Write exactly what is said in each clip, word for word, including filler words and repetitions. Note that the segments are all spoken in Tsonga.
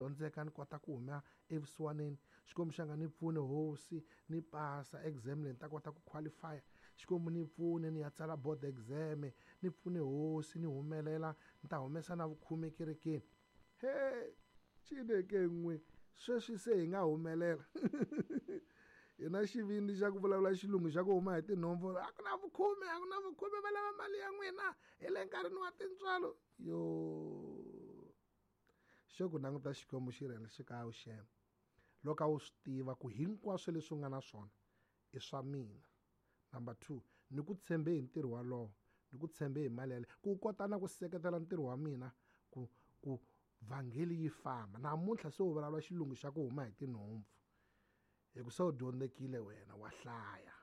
Dyondzeka ni kota ku huma evusiwaneni. Xikwembu xa nga ni pfune hosi ni pasa exam leyi ni ta kota ku qualify. Xikwembu ni pfune ni ya tsala board exam, ni pfune hosi ni humelela ni ta humesa na vukhume kerekeni. He Chineke n'we sweswi se hi nga humelela. Hi na xivindzi xa ku vulavula xilungu xa ku huma hi tinhompfu, a ku na vukhume, a ku na vukhume, va lava mali ya n'wina hi le nkarhini wa tintswalo. Yo xo ku languta Xikwembu xi ri xi ka xem loko a wu swi tiva ku hinkwaswo leswi u nga na swona i swa mina. Number two, ni ku tshembe hi ntirho walowo, ni ku tshembe hi mali yaleyo ku kota na ku seketela ntirho wa mina ku ku vhangeli yi famba. Namuntlha se u vulavula xilungu xa ku huma hi tinhompfu hi ku se u dyondzekile wena, wa hlaya,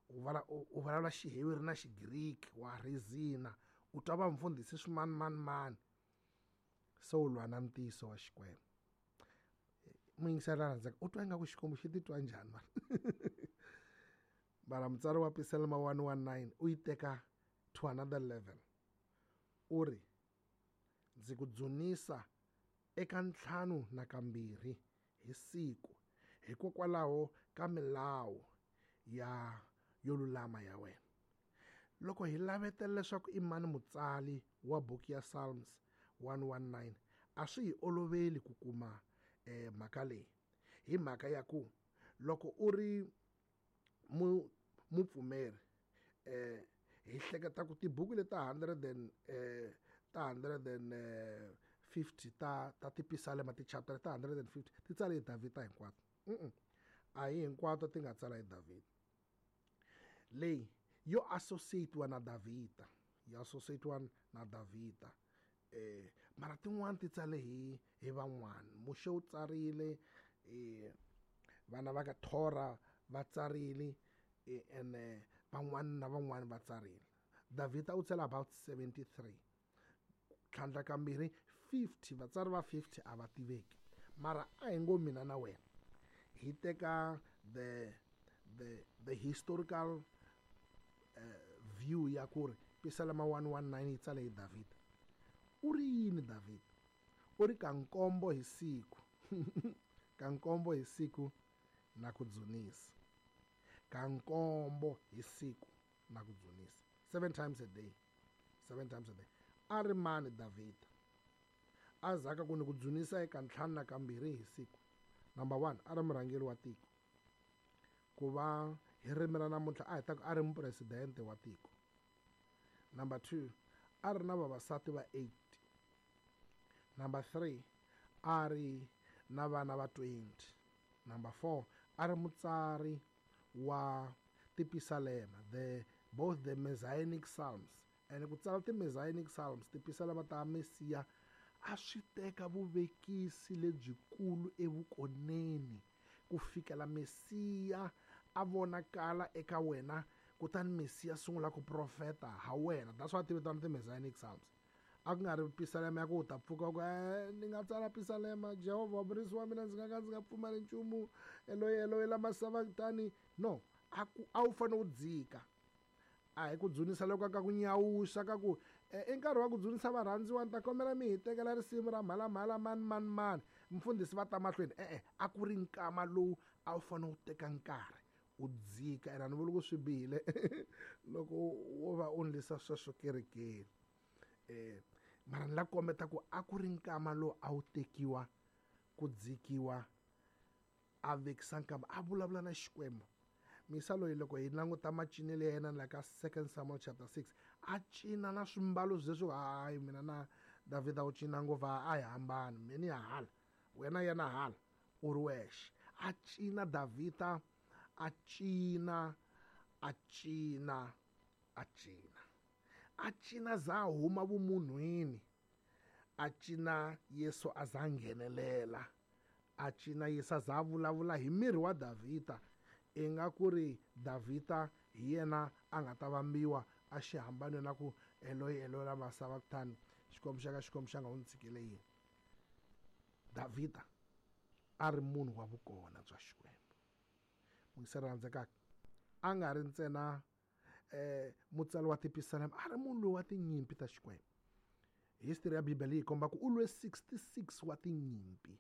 u vala u vulavula xiheveri na xigriki, wa reason, u twa va mfundhisi swimani mani mani, se u lwa na ntiyiso wa Xikwembu. Muyingiseri la rhandzaka, u twa ingaku Xikwembu xi titwa njhani mara? Mara mutsari wa Pisalema one one nine u yi teka to another level. U ri ndzi ku dzunisa eka ntlhanu na kambirhi hi siku hikokwalaho ka milawu ya yo lulama ya wena. Loko hi lavetela leswaku i mani mutsali wa buku ya Psalms one one nine, a swi hi oloveli ku kuma eh, mhaka leyi, hi mhaka ya ku loko u ri mu mupfumeri eh, hi hleketa ku tibuku leti ta hundred and, eh, ta hundred and fifty ta, ta tipisalema, ti-chapter ta hundred and fifty ti tsale hi Davhida hinkwato. Mm-mm. A hi hinkwato ti nga tsala hi Davhida. Leyi yo associate-wa na Davhida, yo associate-wa na Davhida. Eh, mara tin'wani ti tsale hi, hi van'wani. Muxe u tsarile, eh, vana va ka Tora va tsarile, eh, ene van'wani na van'wani va tsarile. Davhida u tsale about seventy-three. Tlhandla kambirhi fifty, vatsari va fifty a va tiveki. Mara a hi ngo mina na wena hi teka the, the, the historical, uh, view ya ku ri Pisalema one one nine yi tsale hi Davhida. U ri yini Davhida? U ri ka nkombo hi siku. Ka nkombo hi siku na ku dzunisa. Ka nkombo hi siku na ku dzunisa. Seven times a day. Seven times a day. A ri mani Davhida? A zaka ku ni ku dzunisa eka ntlhanu na kambirhi hi siku. Number one, a ri murhangeri wa tiko. Ku va hi ririmi ra namuntlha a hi ta ku a ri mupresidente wa tiko. Number two, a ri na vavasati va eight. Number three, a ri na vana va twenty. Number four, a ri mutsari wa tipisalema, the both the Messianic Psalms. And ku tsala ti-Messianic Psalms, tipisalema ta Mesiya, a swi teka vuvekisi lebyikulu evukoneni ku fikela Mesiya a vonakala eka wena, kutani Mesiya sungula ku profeta ha wena. That's why ti vitana ti-Messianic Psalms. A ku nga ri pisalema ya ku u ta pfuka ku, eh, ni nga tsala pisalema, Jehovha murisi wa mina, ndzi nga ka ndzi nga pfumali nchumu, Eloyi, Eloyi, lama sabachthani. No, a ku, a wu fanele u dzika. A hi ku dzunisa loko ka ku nyawuxa ka ku, eh, i nkarhi wa ku dzunisa varhandziwa, ni ta kombela mi hi tekela risimu ra mhalamhala mani mani mani, mfundhisi va ta mahlweni. E-e, a ku ri nkama lowu a wu fanele u teka nkarhi u dzika. Ene a ni vuli ku swi bihile loko wo va u ndlisa sweswo kerekeni. Eh, mara ni la kombeta ku a ku ri nkama lowu a wu tekiwa ku dzikiwa, a vekisa nkama, a vulavula na Xikwembu. Misa loyi loko hi languta macinelo ya yena la ka Second Samuel chapter six, a cina na swimbalo leswi, hayi mina na Davhida u cina ngopfu, a hi hambani, mina ni ya hala, wena yena hala, u ri wexe. A cina Davhida, a cina, a cina, a cina. A cina za huma vumunhwini, a cina Yesu a za nghenelela, a cina Yesu a za vulavula hi miri wa Davhida. I nga ku ri Davhida hi yena a nga ta vambiwa a xihambanweni na ku Eloyi, Eloyi, lama sabachthani, Xikwembu xa ka, Xikwembu xa nga u ndzi tshikele yini. Davhida a ri munhu wa vukona bya Xikwembu. Muyingiseri la rhandzekaka, a nga ri ntsena, eh, mutsari wa tipisalema, a ri munhu loyi wa tinyimpi ta Xikwembu. History ya Bibele yi komba ku u lwe sixty-six wa tinyimpi.